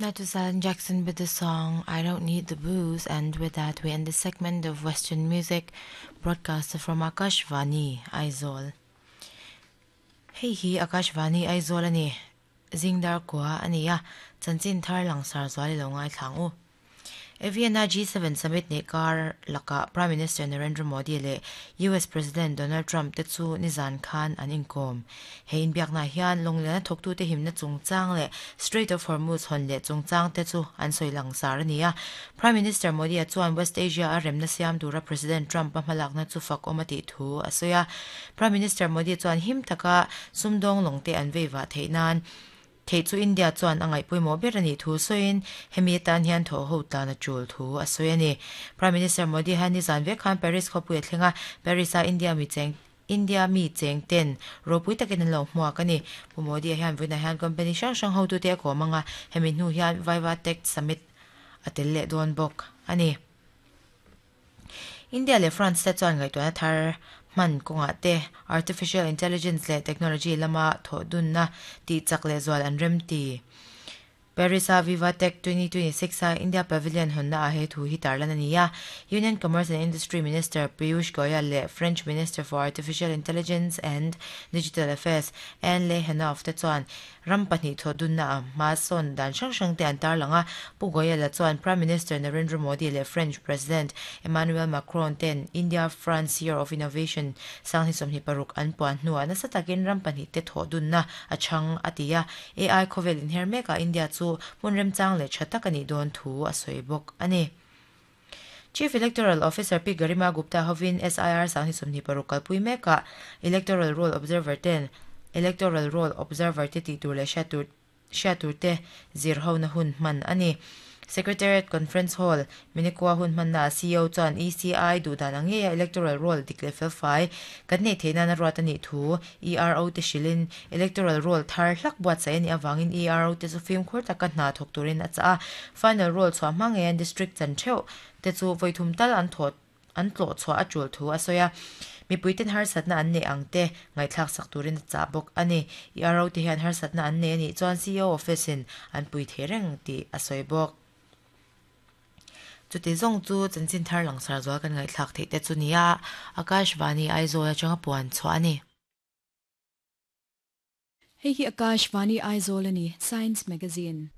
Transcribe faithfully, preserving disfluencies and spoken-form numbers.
That was Alan Jackson with the song I Don't Need the Booze, and with that we end the segment of Western music broadcast from Akashvani Aizawl. Hei hi Akashvani Aizawl ani zingdar kwa ania chanchin thar langsar zuali lo ngai thlang u. Vienna G seven Summit ne kar laka Prime Minister Narendra Modi le U S President Donald Trump te chu nizan khan an inkom. He in biak na hian longlena thoktu te himna chungchang le Strait of Hormuz hon le chungchang te chu an soilang sar ania. Prime Minister Modi a chuan West Asia a remna siam tura President Trump a hmalakna chu fak omati thu asoya. Prime Minister Modi chuan him taka sumdong longte an veiwa theinan thei chu India chuan angai puimo berani thu soin hemi tan hian tho ho ta na chul thu a soini Prime Minister Modi han ni zan ve khan Paris khopui thlenga Paris a India mi cheng India mi cheng ten ropui takin lo hmuak ani pu Modi hian vuina hian company sang sang ho tu te ko manga hemi hnu hian Viva Tech Summit atel le don bok ani India le France te chuan ngai tuana thar man konga te artificial intelligence le technology lama tho dun na ti chak le zwal an rem ti Paris a Viva Tech twenty twenty-six a India Pavilion honna a he thu hi tarlan ania Union Commerce and Industry Minister Piyush Goyal le French Minister for Artificial Intelligence and Digital Affairs Anne Le Henoff te chuan rampani tho dun na ma son dan sang sang te an tarlanga pu Goyal la chuan Prime Minister Narendra Modi le French President Emmanuel Macron ten India France Year of Innovation sang hi somni paruk an puan hnuah nasa takin rampani te tho dun na a chang atia A I khovel in hermeka India chu munrem chang le thatakani don thu a soibok ani Chief Electoral Officer P Garima Gupta hovin S I R sang hi somni paruk kalpui meka Electoral Roll Observer ten Electoral Roll Observer te ti tur le shatur shatur te zir ho na hun man ani Secretariat Conference Hall Minikwa hun man na C O chuan E C I du dan ange Electoral Roll dikle fel fai kan nei theina na ruat ani thu E R O te shilin Electoral Roll thar hlak buat sai ani awangin E R O te chu film khur taka hna thok turin a cha final roll chwa mange district chan theu te chu voithum tal an thot an tlo chwa a chul thu a soya mi puiten har satna an ne angte ngai thlak sak turin cha bok ani E R O te hian har satna an ne ani chuan C O office in an pui thereng ti a soi bok chu te zong chu chanchin thar langsar zual kan ngai thlak thei te chu nia Akashvani Aizawl atanga puan chhuah ani Hei hi Akashvani Aizawl ani Science Magazine.